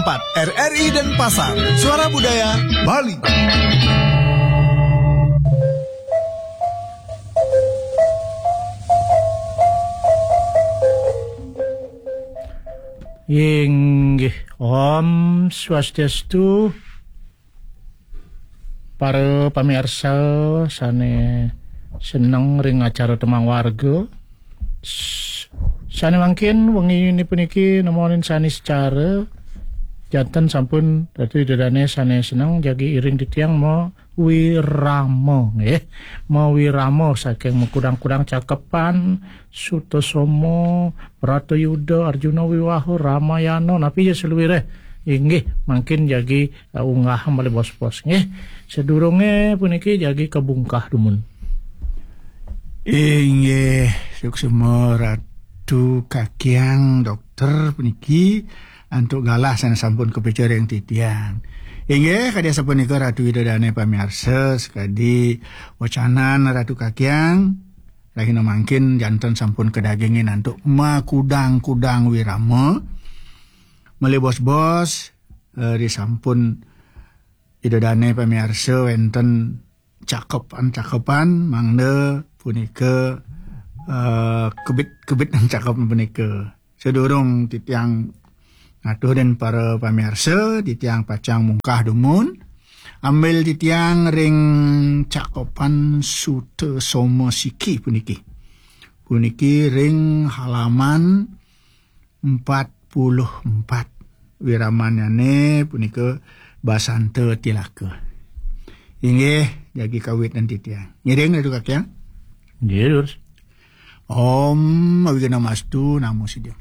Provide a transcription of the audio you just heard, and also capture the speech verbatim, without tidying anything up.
empat R R I Denpasar, Suara Budaya Bali. Inggih, Om Swastiastu. Para pamirsa sane seneng ring acara Temang Warga, s-, sane mangkin wengi puniki nemonin sane secara janten sampun Ratu Ida Dane sane seneng jagi iring titiang mawirama, nggih. Mawirama saking makudang-kudang cakepan, Sutasoma, Bratayuda, Arjuna Wiwaha, Ramayana, napi ya saluire. Inggih, mangkin jagi, eh, unggah malih bos-bos, nggih. Sadurunge puniki jagi kabungkah dumun. Inggih, suksma Ratu Kakiang Dokter puniki antuk galah sane sampun kapica ring titiang. Inggih, kadi asapunika Ratu Ida Dane pamirsa, sakadi wacanan Ratu Kakiang, rahina mangkin janten sampun kadagingin antuk makudang-kudang wirama. Malih bos-bos, eh, risampun Ida Dane pamirsa wenten cakepan-cakepan mangda punika, eh, kebit-kebit cakepan punika. Sadurung titiang ngaturin para pamirsa, titiang pacang mungkah dumun. Ambil titiang ring cakepan Sutasoma Siki puniki. Puniki ring halaman empat puluh empat. Wiramannyane punika Basanta Tilaka. Inggih, jagi kawitin titiang. Ngiring Ratu Kakiang? Nggih, Lur. Om Awighnamastu Namo Siddham.